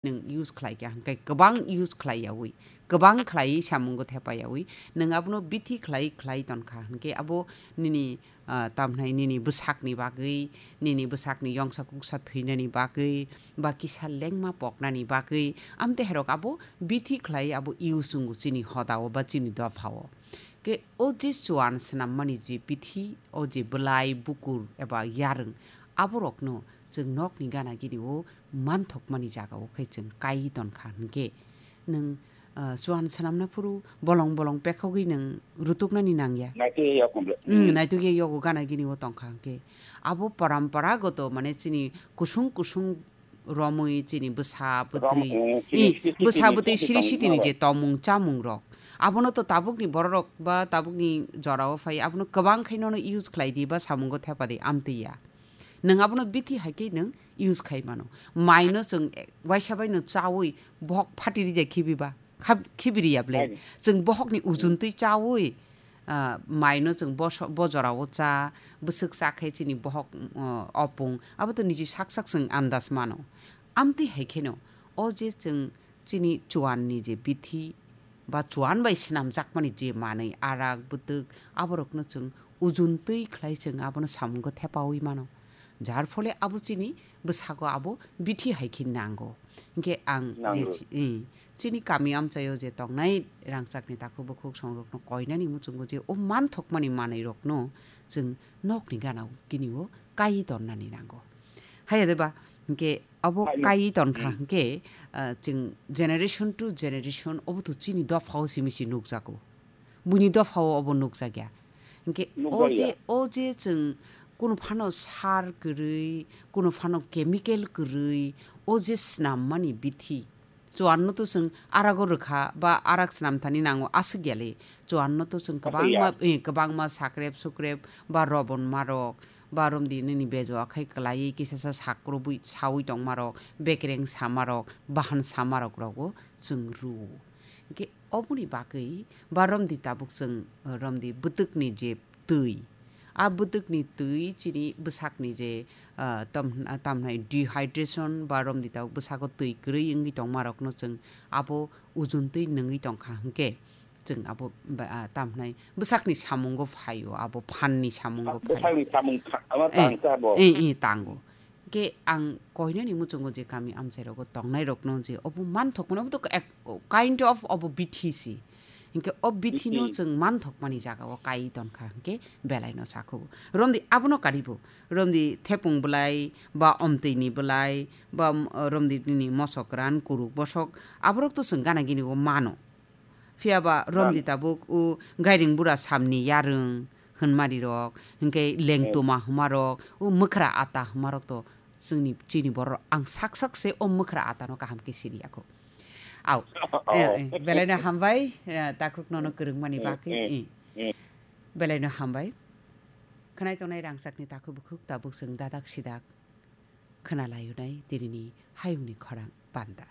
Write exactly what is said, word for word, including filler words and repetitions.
nwng use khlai kha, hwnkhe kwbang use khlai yaui, kwbang khlaiwi samungo thepa yaui, nwng abono bithi khlai khlai ton kha, hwnkhe abo nini, ah, tamhnai nini bwsakni bagwi, nini bwsakni yongsa kuksa thwinani bagwi, ba kisa lengma poknani bagwi, amtwi hairok abo bithi khlai abo use wngo chini hodao ba chini dophao. Khe o je chuan swnammani je bithi, o je bwlai, bukur eba yarwng, aborokno chwng nokni gana gini o manthokmani jagao khai chwng kai ton kha hwnkhe nwng, ah, chuan swnamna phuru bolong bolong pekhogwi nwng rutuknani nangya. Naitugya yogo bwle. Hmm, hmm, naitugya yogo gana gini o tong kha hwnkhe. Abo paramparagoto mane chini kusung kusung romwi chini bwsa bwtwi, eh, chini siri bwsa siri bwtwi siri siri tongmung je tomung chamung rok. Abono to tabukni bororok ba tabukni jorao phai abono kwbang khai nono use khlai di ba samungo thepa di amtwi ya. Nwng abono bithi hai khe nwng use khai mano. Maino chwng, eh, waisa bai no chaui bohok phati ri de khibi ba. Khab-, khibiri ya ble. Chwng bohokni ujun twi chaui, ah, maino chwng boso-, bojorao cha, bwswk cha khe chini bohok, ah, opung. Abo to niji sak sak chwng andas mano. Amtwi hai kheno, o je chwng chini chuanni je bithi, ba chuan bai swnamjakmani je manwi arak, bwtwk, aborokno chwng ujun twi khlai chwng abono samungo thepaui mano. Jar phole abo chini bwsago abo bithi hai khe nango. Hwnkhe ang je nango. Chi-, eh, chini kami amchaio je tongnai rangchakni takhuk bukhuk songrokno koinani muchungo je o manthokmani manwirokno chwng nokni gana gini o kai tonnani nango. Haiya de ba, hwnkhe abo hai no. Kai ton kha, hmm, hwnkhe, ah, chwng generation to generation obo to chini dophao simi si nukjago. Buini dophao obo nukjakya. Hwnkhe o je, nukjakya, o je chwng kunu phano sar kwrwi, kunu phano chemical kwrwi, o je swnammani bithi. Chuanno to chwng arago rwkha ba arak swnamthani nango aswk yali. Chuanno to chwng aswk ya. Kwbangma, eh, kwbangma sakrep sukrep ba robon marok ba romdi nini bejo akhai kwlaiwi kisasa sakrubwi saui tongmarok, bekereng samarok, bahan samarok rogo chwng rwo. Hwnkhe oboni bagwi ba romdi tabuk chwng, eh, romdi bwtwkni je twi, a bwtwkni twi chini bwsakni je, ah, tam-, ah, tamhnai dehydration ba romdi tabuk bwsago twi kwrwi wngwi tongmarokno chwng abo ujun twi nwngwi tongkha hwnkhe chwng abo ba, ah, tamhnai bwsakni samungo phaio, abo phanni samungo phaio. Bwsakni samung tha-, ama eh, tang kha bo. Eh, eh, tango. Hwnkhe ang koinani muchungo je kami amchairogo tongnairokno je obo manthokmano, obo to ek, kind of obo bithi si. Hwnkhe o bithi no, bithi, chwng manthokmani jagao kai tonkha hwnkhe belaino sakhugo. Romdi abono karibo. Romdi thepung bwlai, ba omtwini bwlai, ba, um, romdi nini mosok ran, kuruk bosok, aborok to chwng gana gini o mano. Phiya ba romdi tabuk o gairing bura samni yarwng hwnmari rok, hwnkhe lengtoma hwnma rok, o mwkhra ata hwnma rok to chwngni, chini borok ang sak sak se o mwkhra ata no kaham khe siri ya kho. Au. Oh. Eh, eh, belaino hambai, eh, takhuk nono kwrwngmani bagwi. Eh, eh. Belaino hambai. Khwnai tongnai rangchakni takhuk bukhuk tabuk chwng dadak sidak khwna layunai tinini hayungni khorang panda.